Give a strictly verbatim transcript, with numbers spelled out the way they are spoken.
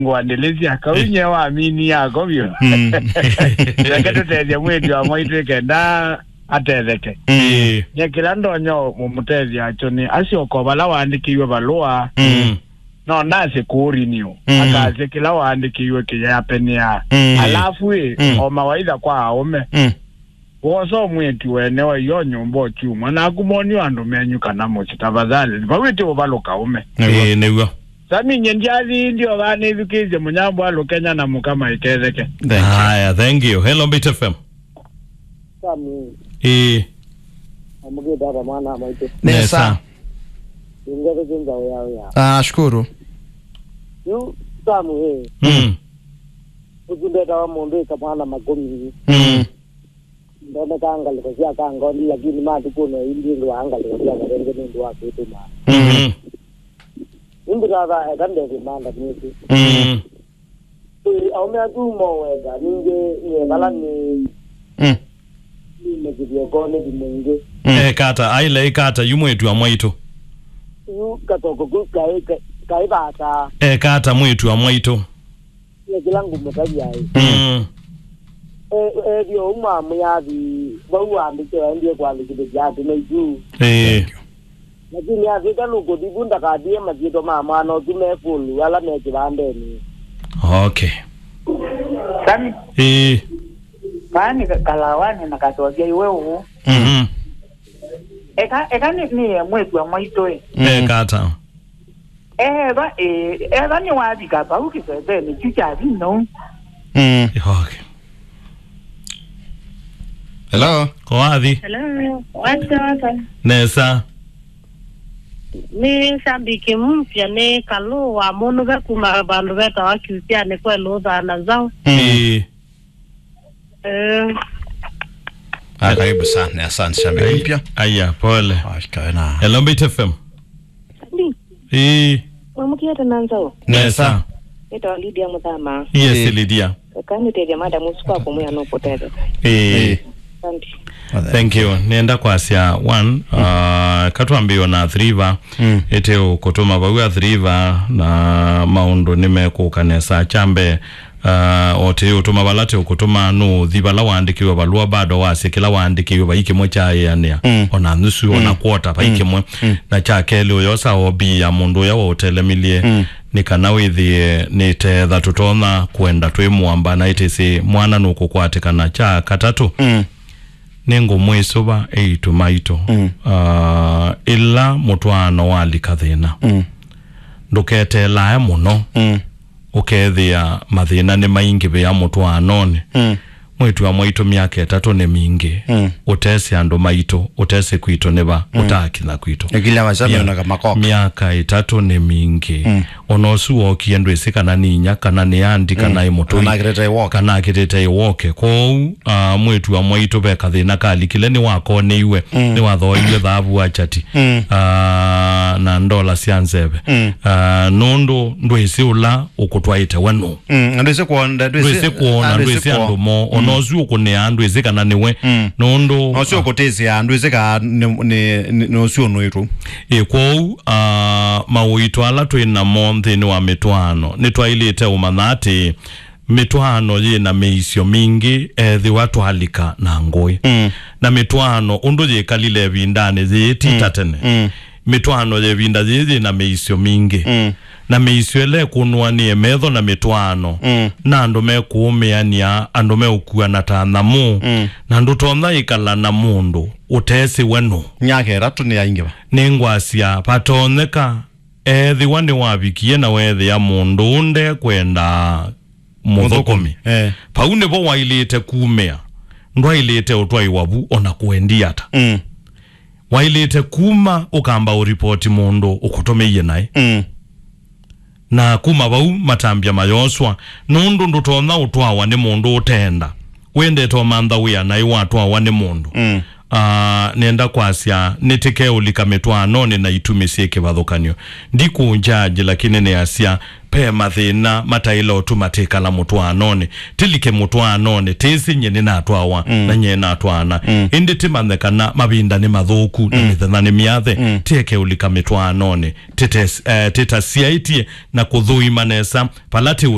Ngwandĩlĩsya, kau nye wa mini yako vyũ. Mm. Reke tũtethye mwĩĩtu wa mwaitũ ĩkenda atetheke. Mm. Ĩĩ. Nye kĩla ndonya ũmũtethya nakyo nĩ asyoka o vala waandĩkĩiwe valũa. Mm. No ndasye kũũrenew. Mm. Akasye kĩla waandĩkĩiwe kĩyapenea. Mm. Alafu ĩ, mm, o mawaitha kwa aũme. Mm. Wosa mwĩĩtu wene wa iyo nyũmba ũkyumwa, naku monio andũ menyu kana mũsyĩ, tafadhali. Vau ĩtĩ ũvalũka ũme. Nĩw'o. Ĩĩ, nĩw'o. Sami, nye ndyathi ndyovaa nĩthukĩĩsye mũnyambwa Lũkenya na mũka maiketheke. Thank you. Haya, thank you. Hello, Mbaitu F M. Sami. Ĩĩ. Amũkĩte ata mwana maitũ? Nesa. Nesa. Ingetheke nzaũ yao ya. Ah, shukuru. Yu, Sami, ĩ. Mm. Ũtundetawa mũndũ ĩka mwana makũmi. Mm. Ndoneka ngalĩko sya Kangoni, lakini matukũnĩ ĩndĩ ndwaa ngalĩko sya Karenge nũndũ wa kwĩtũma. Mhm. Nĩmbĩtata eka ndethĩ manda mwĩsĩ. Mm. Ĩ, aũme atu moweka, ningĩ nĩekala nĩ Mm. nĩmekĩthie konĩ thimũ ingĩ. Mm. Ekata, aile ikata, yu mwĩĩtu wa mwaitũ. Yu katoko kau kaĩ, kaĩ, kaĩ vata. Ekata mwĩĩtu wa mwaitũ. Nĩ kĩla ngũmũtavya ĩ. Mm. E, ethĩwa ũu mwamwĩa athi, vau waandĩke waendie kũandĩkĩthĩthya atĩ nĩ yu. Ĩĩ. Lakini avika nũkũthi vu ndakathie masyĩtwa ma mwana ũsu me full ala me kĩvandenĩ. Okay. Sami, Ĩĩ. Vaa nĩ ka-, kalawanĩ na katwavya iwe ũũ. Mhm. Eka, eka nĩ, nĩ mwĩĩtu wa mwaitũ ĩ. Mm. Ekata. Eva, ĩ, eva nĩwavika vau kĩsesenĩ kyu kya vinya ũu. Mm. Okay. Hello. Kowathi. Hello. What's up? Nesa. Nĩ shabiki mpya, nĩ Kalũ wa Mũnũve kuma vandũ vetawa Kiusianĩ kwe Lũtha na Nzaũ. Mm. Ĩĩ. Eh. Ah, karibu sana. Asante, shabiki mpya. Aya, pole. Ah, shikawe na. Hello, Mbaitu F M. Ndi. Ĩĩ. Mwamũkĩte na Nzaũ? Nesa. Nĩtawa Lydia Mũthama. Yes, Ĩĩ. Lydia. Eka nĩtethya madam ũsu kwa kũmwĩa nũkũtetheka. Ĩĩ. Ĩĩ. Asante. Thank you. Nĩenda kwasya one, uh, katwambĩĩo na Athi River, Mm. ĩte ũkũtũma vau Athi River na maũndũ nĩmekũka nesa. Kya mbee, uh, o tĩ ũtũma vala te ũkũtũma nũũthi vala waandĩkĩwe valũa bado wasye kĩla waandĩkĩwe vai kĩmwe kyaĩanĩa. Mm. Ona nusu, ona Mm. quarter vai Mm. kĩmwe. Mm. Na kya kelĩ ũyosa O B ya mũndũ ũya waũtelemilye Mm. nĩ kana wĩthĩe nĩ tetha tũtonya kwenda twĩ mũamba na ĩtĩsĩ mwana nũkũkwatĩkana. Kya katatũ, Mm. nĩngũmwĩsũva eĩtu maitũ. Mm. Ah, ĩla mũtwaano walika thĩna, Mm. ndũketeelae mũno, Mm. ũkethĩa mathĩna nĩmaingĩvĩa mũtwaanonĩ. Mm. Mwĩĩtu wa mwaitũ myaka ĩtatũ nĩ mingĩ, Mm. ũtesĩ andũ maitũ, ũtesĩ kwitũ nĩ va, Mm. ũtaakinya kwitũ. Ĩkilya wasya Mya-, meona kamakoka. Myaka ĩtatũ nĩ mingĩ. Mm. Ona ũsu wookie ndwĩsĩ kana nĩ inya, kana nĩ andi, kana Mm. ĩ mũtũi, Kana akĩtete ĩwoke. Kana akĩtĩte ĩwoke. Kwoou, ah, mwĩĩtu wa mwaitũ ve kathĩna kalikile, nĩwakoneiwe, Mm. nĩwathooeiwe thaavu wa chati, Mm. ah, na ndola sya nzeve. Mm. Ah, nũndũ ndwĩsĩ ũla ũkũtwaĩte we nũ. Mm, ndwĩsĩ kwona, ndwĩsĩ, Ndwĩsĩ kwona, ah, ndwĩsĩ ndwĩsĩ kwona. Andũ mo. Ona Mm. ũsu ũkũnĩaa, ndwĩsĩ kana nĩwe. Mm. Nũndũ Na ũsu ũkũtĩsĩa, ndwĩsĩ kana nĩ, nĩ, nĩ, nĩ ũsu ũnũĩtũ. Ĩ, kwoou, ah, maũito ala twĩ namo nthĩnĩ wa mĩtwaano, nĩtwaĩlĩte ũmanya atĩ mĩtwaano yĩ na mĩisyo mingĩ ethĩwa twalika na ngũĩ. Mm. Na mĩtwaano ũndũ yĩkalile ĩvindanĩ yĩĩ ti ta Mm. tene. Mm. Mĩtwaano ya ĩvinda yĩĩ yĩ na mĩisyo mingĩ. Mm. Na mĩisyo ĩla ĩkũnũanĩe metho na mĩtwaano, Mm. na andũ mekũũmĩanĩa, andũ meũkuana ta nyamũ, Mm. na ndũtonya ĩkala na mũndũ ũtesĩ we nũ. Myaka ĩtatũ nĩyaingĩva. Nĩngwasya, vatonyeka, ethĩwa nĩwavikie na weethĩa mũndũ ũnde kwenda mũthũkũmi. Mũthũkũmi, eh. Vau nĩvo waĩlĩte kumĩa. Ndwaĩlĩte ũtwaĩwa vu ona kũendia ata. Mm. Waĩlĩte kuma ũkamba ũripoti mũndũ ũkũtũmĩie naĩ. Mm. Na kuma vau matambya mayoswa, nũndũ ndũtonya ũtwawa nĩ mũndũ ũteenda. Wendete ũmantha wĩa naĩ watwawa nĩ mũndũ. Mm. Ah, nenda kwasya, nĩtĩkeũlika mĩtwaanonĩ na itumi syĩ kĩvathũkany'o. Ndikũnjaji, lakini nĩasya, pe mathĩna mataĩle ũtuma tĩkala mũtwaanonĩ. Tĩlike mũtwaanonĩ, tĩsĩ nyie nĩnatwawa, na nyie natwaana. Ĩndĩ tĩmanye kana mavinda nĩ mathũku, na mĩthenya nĩ myathe, tĩekeũlika mĩtwaanonĩ. Tĩtes-, eh, tĩtasyaĩtye na kũthũima nesa vala tĩũ